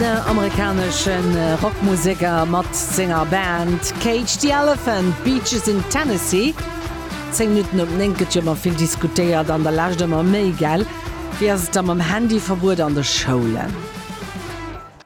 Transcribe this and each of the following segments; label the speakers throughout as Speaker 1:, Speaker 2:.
Speaker 1: amerikanesche Rockmuseker mat senger Band Cage the Elephant, Beaches in Tennessee. 10 Minutten op 9 gëtt jo ëmmer vill diskutéiert, an der Lescht ëmmer méi, gell? Wéi ass et da mam Handyverbuet an de Schoulen?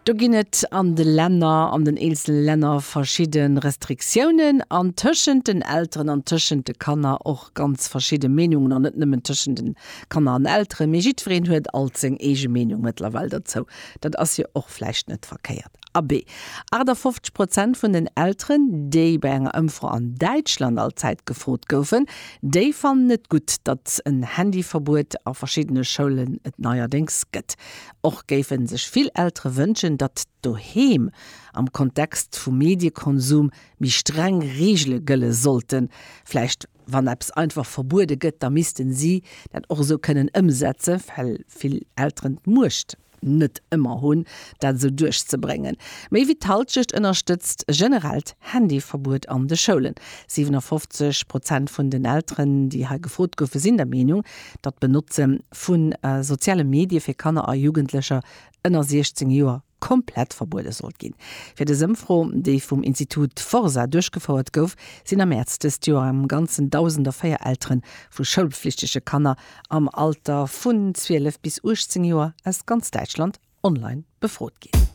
Speaker 1: Do ginn et an de Länner, an den eenzele Länner verschidde Restriktiounen an tëschent den Elteren an tëschent de Kanner och ganz verschidde Meenungen an net nëmmen tëschent de Kanner an Elteren, mee jiddwereen huet alt seng eege Meenung mëttlerweil dozou. Dat ass jo och vläicht net verkéiert. Abee, 58 Prozent vun den Elteren, déi bei enger Ëmfro an Däitschland all Zäit gefrot goufen, déi fannen et gutt, datt en Handyverbuet a verschiddene Schoulen et neierdéngs gëtt. Och géife sech vill Eltere wënschen, datt doheem am Kontext vum Mediekonsum méi streng Reegele gëlle sollten. Vläicht wann eppes einfach verbuede gëtt, da missten si dat och esou kënnen ëmsetzen, well vill Elteren d'Muecht net ëmmer hunn, dat esou duerchzebréngen. Méi wéi d'Hallschecht ënnerstëtzt e generellt Handyverbuet an de Schoulen. 57 Prozent vun den Elteren, déi hei gefrot goufen, sinn der Meenung, datt d'Benotze vu soziale Medie fir Kanner a Jugendlecher ënner 16 Joer komplett verbuede sollt ginn. Fir dës Ëmfro, déi vum Institut Forsa duerchgefouert gouf, sinn am Mäerz dëst Joer am Ganzen 1.004 Eltere vu schoulpflichtege Kanner am Alter vun 12 bis 18 Joer aus ganz Däitschland online befrot ginn.